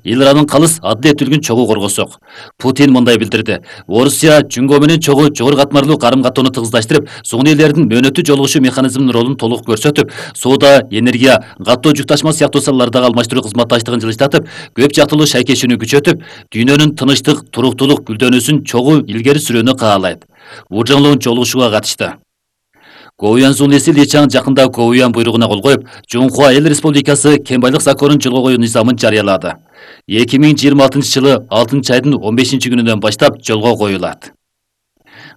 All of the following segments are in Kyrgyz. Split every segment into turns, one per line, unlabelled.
эл аранын калыс адил этилгин чогуу коргосок. Путин мындай билдирди. Орусия Жүнгө менен чогуу жогору катмарлуу карым-каттоону тыгыздаштырып, сугун элдердин мөөнөттүү жолугушуу механизминин ролун толук көрсөтүп, соода, энергия, каттоо жүк ташма сыяктуу салалардагы алмаштыруу кызматташтыгын жылыштатып, көп жактылуу шайкешүүнү күчөтүп, дүйнөнүн тынычтык, туруктуулук гүлдөнүүсүн чогуу илгери сүрүүнү каалайт. Ужуңлуу жолугушууга катышты. Гоуян Зунеси Личан жакында Гоуян буйругуна кол коюп, Жунхуа Эл Республикасы кен байлык законун жолго коюу низамын жарыялады. 2026-жылы 6-айдын 15-күнүнөн баштап жолго коюлат.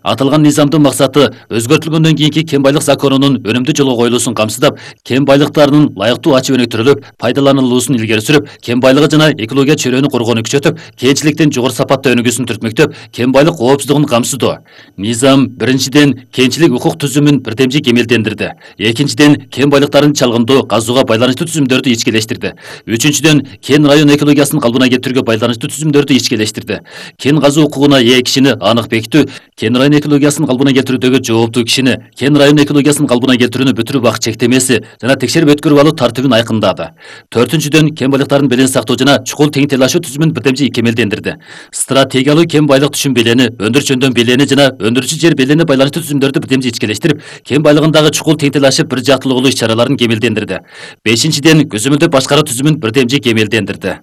Аталган низамдын максаты өзгөртүлгөндөн кийинки кен байлык законунун өнүмдүү жолго коюлуусун камсыздап, кен байлыктарынын ылайыктуу ачып өнүктүрүлүп, пайдаланылуусун илгери сүрүп, кен байлыгы жана экология чөйрөнү коргоону күчөтүп, кенчиликтин жогору сапаттуу өнүгүүсүн түртмөктөп, кен байлык коопсуздугун камсыздоо. Низам биринчиден кенчилик укук түзүмүн бирдемчи кемелдендирди. Экинчиден кен байлыктарын чалгындоо, казууга байланыштуу түзүмдөрдү ичкелештирди. Үчүнчүдөн кен район экологиясын калпына келтирүүгө байланыштуу түзүмдөрдү ичкелештирди. Кен казуу укугуна ээ кишини анык бекитүү, кен район экологиясын калпына келтирүүдөгү жооптуу кишини, кен район экологиясын калпына келтирүүнү бүтүрүү убак чектемеси жана текшерип өткөрүп алуу тартибин айкындады. Төртүнчүдөн кен байлыктарын белең сактоо жана чукул тең тейлашуу түзүмүн бирдемчи кемелдендирди. Стратегиялуу кен байлык түшүм белени, өндүрүш жөндөм белени жана өндүрүүчү жер беленине байланыштуу түзүмдөрдү бирдемчи ичкелештирип, кен байлыгындагы чукул тең тейлашып бир жактылуулуу иш-чараларын кемелдендирди. Бешинчиден көзөмөлдөп башкаруу түзүмүн бирдемчи кемелдендирди.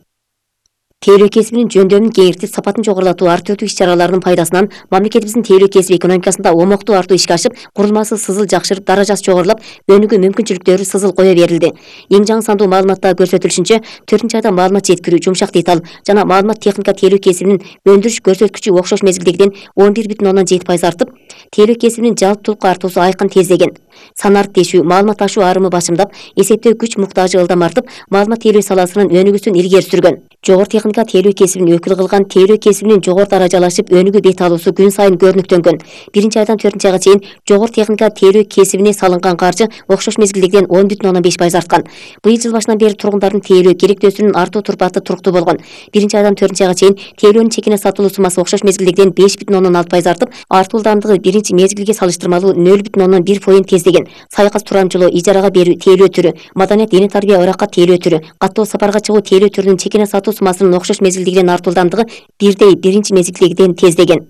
Тейлөө кесибинин жөндөмүн кеңейтип, сапатын жогорулатуу артыруу иш-чараларынын пайдасынан мамлекетибиздин тейлөө кесиби экономикасында омоктуу артуу ишке ашып, курулмасы сызыл жакшырып, даражасы жогорулап, өнүгүү мүмкүнчүлүктөрү сызыл кое берилди. Эң жаңы сандуу маалыматта көрсөтүлүшүнчө, 4-айда маалымат жеткирүү, жумшак деталь жана маалымат техника тейлөө кесибинин өндүрүш көрсөткүчү окшош мезгилдегиден 11,7% артып, тейлөө кесибинин жалпылыкка артуусу айкын тездеген. Санарт тешүү, маалымат ташуу арымы башымдап, эсептөө күч муктажы ылдам артып, маалымат тейлөө саласынын өнүгүүсүн илгери сүргөн. Жогору техника тейлөө кесибин өкүл кылган, тейлөө кесибинин жогору даражалашып өнүгүү бет алуусу күн сайын көрүнүктөнгөн. 1-айдан 4-айга чейин жогору техника тейлөө кесибине салынган каржы окшош мезгилдегиден 10,5% арткан. Быйыл жыл башынан бери тургундардын тейлөө керектөөсүнүн артуу турпаты туруктуу болгон. 1-айдан 4-айга чейин тейлөөнүн чекине сатылуу суммасы окшош мезгилдегиден 5,6% артып, артуу ылдамдыгы биринчи мезгилге салыштырмалуу 0,1% тездеген. Сайкас турамчылоо, ижарага берүү тейлөө түрү, маданият, диний тарбия, ыракка тейлөө түрү, каттоо сапарга чыгуу тейлөө түрүнүн чекине сатуу суммасынын окшош мезгилдегиден артуу ылдамдыгы 1 биринчи мезгилдегиден тездеген.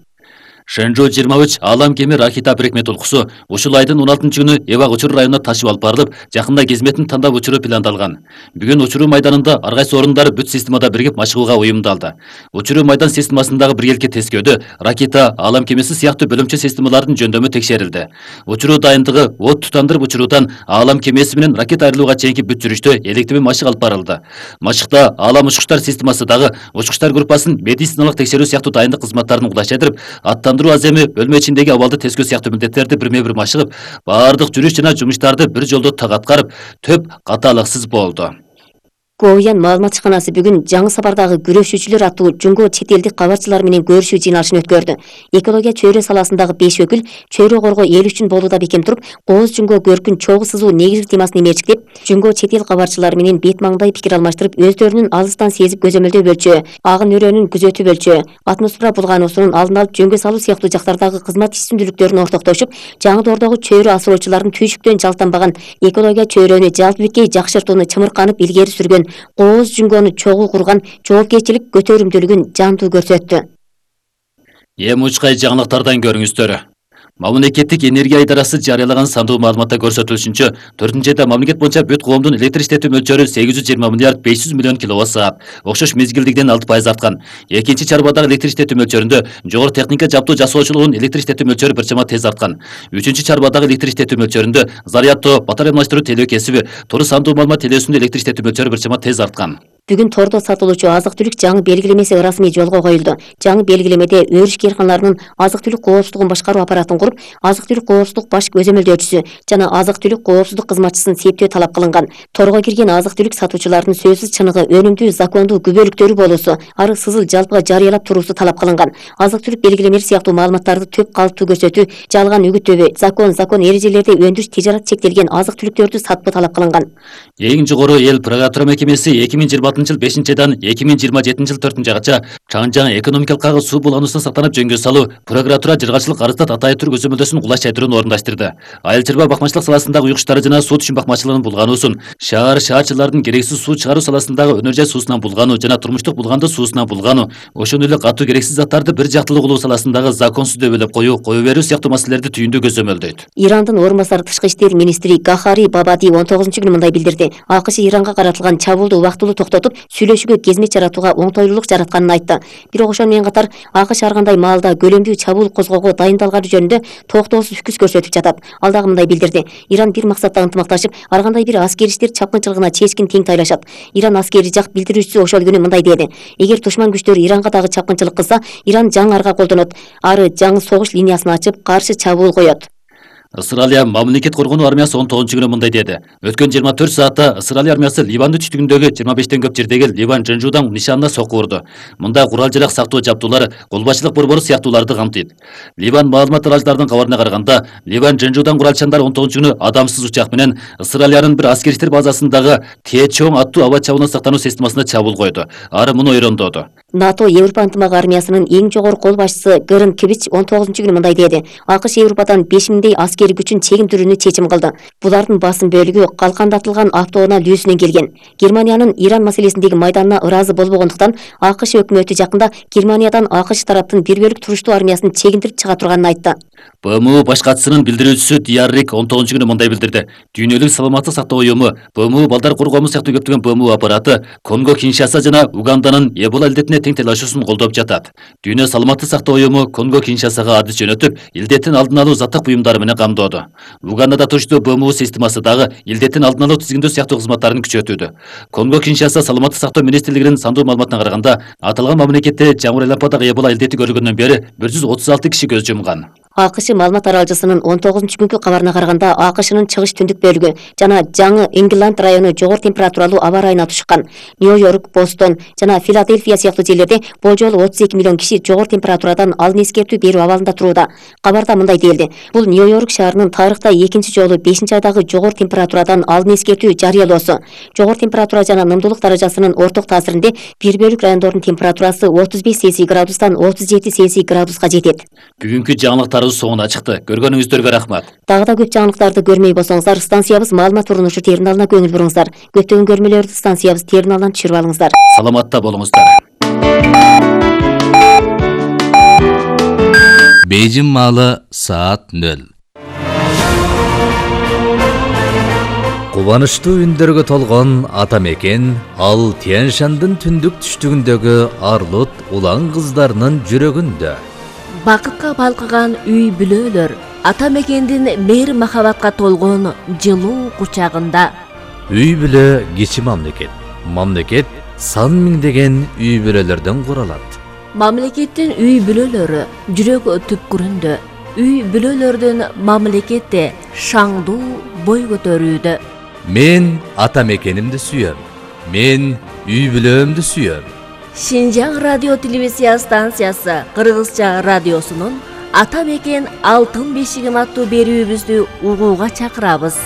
Шэнжу 23 Алам кеми Ракита бирикме толкусу ушул айдын 16-күнү Эвак учуруу районуна ташып алып барылып, жакында кызметін тандап учуруу пландалган. Бүгүн учуруу майданында ар кайсы орундары бүт системада биригип машыгууга уюмдалды. Учуруу майдан системасындагы биргеликке тескөөдө Ракита, Алам кемеси сыяктуу бөлүмчө системалардын жөндөмү текшерилди. Учуруу дайындыгы от тутандырып учуруудан Алам кемеси менен Ракита айрылууга чейинки бүт жүрүштө электими машык алып барылды. Машыкта Алам учкучтар системасы дагы учкучтар группасын медициналык текшерүү сыяктуу дайындык кызматтарын улаштырып, аземи бөлмө ичиндеги абалды тескөө сыяктуу милдеттерди бирме-бир машыгып, баардык жүрүш жана жумуштарды бир жолдо так аткарып, төп катаалыксыз болду.
Гоуян маалымат ишканасы бүгүн жаңы сапардагы күрөшүүчүлөр аттуу Жунго чет элдик кабарчылар менен көрүшүү жыйналышын өткөрдү. Экология чөйрө саласындагы 5 өкүл чөйрө коргоо эл үчүн болууда бекем туруп, Кооз Жунго көркүн чогуу сызуу негизги темасын эмерчиктеп, Жунго чет эл кабарчылары менен бет маңдай пикир алмаштырып, өздөрүнүн алыстан сезип көзөмөлдөө бөлчү, агын өрөөнүн күзөтүү бөлчү, атмосфера булгануусунун алдын алып жөнгө салуу сыяктуу жактардагы кызмат ишсүндүүлүктөрүн ортоктошуп, жаңы доордогу чөйрө асыроочулардын түйшүктөн жалтанбаган экология чөйрөнү жалпы беткей жакшыртууну чымырканып илгери сүргөн Кооз Жунгону чогуу курган жоопкерчилик көтөрүмдүүлүгүн жандуу көрсөттү.
Эми учкай жаңылыктардан көрүңүздөр. Мамлекеттик энергия идарасы жарыялаган сандуу маалыматта көрсөтүлүшүнчө, 4-айда мамлекет боюнча бүт коомдун электр иштетүү мөлчөрү 820 миллиард 500 миллион киловатт-саат, окшош мезгилдигиден 6% арткан. Экинчи чарбадагы электр иштетүү мөлчөрүндө жогору техника жаптуу жасоочулугунун электр иштетүү мөлчөрү бир чама тез арткан. Үчүнчү чарбадагы электр иштетүү мөлчөрүндө зарядтоо, батарея алмаштыруу тейлөө кесиби, тору сандуу маалымат телөөсүндө электр иштетүү мөлчөрү бир чама тез арткан.
Бүгүн тордо сатылуучу азык-түлүк жаңы белгилемеси ырасмий жолго коюлду. Жаңы белгилемеде өрүш кээрканаларынын азык-түлүк коопсуздугун башкаруу аппаратын куруп, азык-түлүк коопсуздук баш көзөмөлдөөчүсү жана азык-түлүк коопсуздук кызматчысын септөө талап кылынган. Торго кирген азык-түлүк сатуучулардын сөзсүз чыныгы, өнүмдүү, закондуу күбөлүктөрү болуусу, ары сызыл жалпыга жарыялап туруусу талап кылынган. Азык-түлүк белгилемелери сыяктуу маалыматтарды төп калыптуу көрсөтүү, жалган үгүттөбө, закон эрежелерди өндүрүш тижарат чектелген азык-түлүктөрдү сатпоо талап кылынган.
Эң жогору эл прокуратура мекемеси 2026 2016 жыл 5-айдан 2027 жыл 4-айга жаңы экономикалык кагы суу булгануусун сактанып жөнгө салуу, прокуратура жыргачылык арыздат атайы түр көзөмөлдөсүн кулаш чайтырууну орундаштырды. Айыл чарба бакмачылык саласындагы уюктары жана суу түшүн бакмачылыгынын булгануусун, шаарчылардын керексиз суу чыгаруу саласындагы өнөр жай суусунан булгануу жана турмуштук булганды суусунан булгануу, ошондой эле катуу керексиз заттарды бир жактылуу кылуу саласындагы законсуз дөбөлөп кое берүү сыяктуу маселелерди түйүндүү көзөмөлдөйт.
Ирандын орун басары тышкы иштер министри Гахари Бабади 19-күнү мындай билдирди. АКШ Иранга каратылган чабуулду убактылуу токтотуп, сүйлөшүүгө кезмет жаратууга оңтойлуулук жаратканын айтты. Бирок ошону менен катар АКШ ар кандай маалда көлөмдүү чабуул козгоого дайындалганы жөнүндө токтоосуз үкүс көрсөтүп жатат. Ал дагы мындай билдирди. Иран бир максатта ынтымакташып, ар кандай бир аскери иштер чапкынчылыгына чечкин тең тайлашат. Иран аскери жак билдирүүчүсү ошол күнү мындай деди. Эгер душман күчтөр Иранга дагы чапкынчылык кылса, Иран жаңы арга колдонот. Ары жаңы согуш линиясын ачып, каршы чабуул коет.
Ысыралия мамлекет коргонуу армиясы 19-күнү мындай деди. Өткөн 24 саатта Ысыралия армиясы Ливандын түштүгүндөгү 25-тен көп жердеги Ливан Жынжуудан нишанына сокку урду. Мында курал жарак сактоо жабдуулары, колбачылык борбору сыяктууларды камтыйт. Ливан маалымат таратууларынын кабарына караганда, Ливан Жынжуудан куралчандар 19-күнү адамсыз учак менен Ысыралиянын бир аскери иштер базасындагы Течоң аттуу аба чабуулуна сактануу системасына чабуул койду. Ары муну ойрондоду.
НАТО Европа ынтымак армиясынын эң жогорку кол башчысы Гырын Кибич 19-күнү мындай деди. АКШ Европадан 5000дей аскери күчүн чегиндирүүнү чечим кылды. Булардын басым бөлүгү калкандатылган автоунаа лүүсүнөн келген. Германиянын Иран маселесиндеги майданына ыраазы болбогондуктан АКШ өкмөтү жакында Германиядан АКШ тараптын бир бөлүк туруштуу армиясын чегиндирип чыга турганын айтты.
БМУ баш катчысынын билдирүүчүсү Дияррик 19-күнү мындай билдирди. Дүйнөлүк саламаттык сактоо уюму, БМУ балдар коргоому сыяктуу көптөгөн БМУ аппараты Конго Киншаса жана Уганданын Эбола илдетине тең талашуусун колдоп жатат. Дүйнө саламаттык сактоо уюму Конго Киншасага адыс жөнөтүп, илдеттин алдын алуу заттык буюмдары менен камдоодо. Угандада туруштуу БМУ системасы дагы илдеттин алдын алуу тизгиндөө сыяктуу кызматтарын күчөтүүдө. Конго Киншаса саламаттык сактоо министрлигинин сандуу маалыматына караганда, аталган мамлекетте жаңы айлампадагы Эбола илдети көрүлгөндөн бери 136 киши көз жумган. АКШ маалымат таралчысынын 19-күнкү кабарына караганда, АКШнын чыгыш түндүк бөлүгү жана жаңы Энгиланд району жогору температуралуу аба ырайына тушкан. Нью-Йорк, Бостон жана Филадельфия сыяктуу жерлерде болжол 32 миллион киши жогору температурадан алын эскертүү берүү абалында турууда. Кабарда мындай делди. Бул Нью-Йорк шаарынын тарыхта экинчи жолу 5-айдагы жогору температурадан алын эскертүү жарыялоосу. Жогору температура жана нымдуулук даражасынын орток таасиринде бир бөлүк райондордун температурасы 35 Цельсий градустан 37 Цельсий градуска жетет. Бүгүнкү жаңылыктар соңуна чыкты. Көргөнүңүздөргө рахмат.
Дагы да көп жаңылыктарды көрмөй болсоңуздар, станциябыз маалымат урунушу терминалына көңүл буруңуздар. Көптөгөн көрмөлөрдү станциябыз терминалынан түшүрүп алыңыздар.
Саламатта болуңуздар.
Бейжин маалы саат 0. Кубанычтуу үндөргө толгон ата мекен ал Тянь-Шандын түндүк түштүгүндөгү Арлут улан кыздарынын жүрөгүндө.
Бакытка балкыган үй бүлөлөр ата мекендин мейир махабатка толгон жылуу кучагында.
Үй бүлө кичи мамлекет. Мамлекет сан миңдеген үй бүлөлөрдөн куралат.
Мамлекеттин үй бүлөлөрү жүрөк түпкүрүндө. Үй бүлөлөрдүн мамлекетте шаңдуу бой көтөрүүдө.
Мен ата мекенимди сүйөм. Мен үй бүлөмдү сүйөм.
Шинжаң радио телевизия станциясы Кыргызча радиосунун Ата мекен алтын бешигим аттуу берүүбүздү угууга чакырабыз.